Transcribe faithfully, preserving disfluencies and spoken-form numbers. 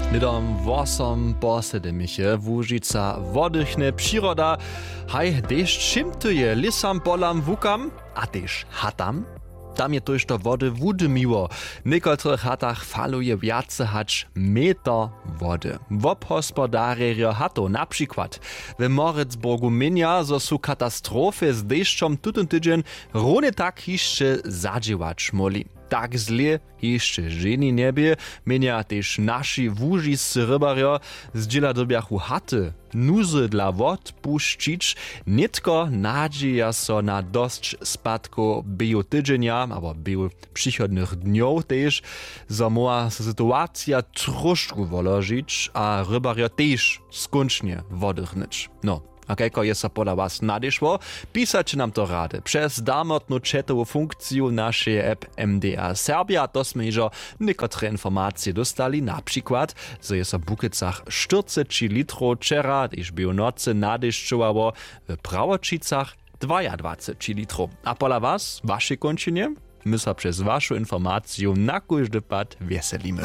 Hnydom wosom po sedymich je Łužica wodychne přiroda. Haj, dešć šimtuje lěsam, polam, łukam a tež hatam. Tam je tójšto wody wudymiło. W někotrych hatach faluje wjace hač meter wody. Wobhospodarjerjo hatow na přikład w Moritzburgu měnja, zo su katastrofy z dešćom tutón tydźeń runje tak hišće zadźěłać móhli. Tak zle hišće ženje njebě, měnja tež naši łužiscy rybarjo. Zdźěla dyrbjachu haty nuzy dla wotpušćić. Nětko nadźěja so na dosć spadkow běhu tydźenja abo běhu přichodnych dnjow tež, zo móhła so situacija tróšku woložić a rybarjo tež skónčnje wodychnyć. No, a kajko je so pola was nadešło? Pisaće nam to rady přez darmotnu chatowu funkciju našeje app M D A Serbia. To smy hižo někotre informacije dóstali, na přikład, zo je so w Bukecach štyrceći litrow wčera, tež běhu nocy, nadešćowało, w Prawoćicach dwajadwaceći litrow. A pola was, w wašej kónčinje? My so přez wašu informaciju na kóždy pad wjeselimy.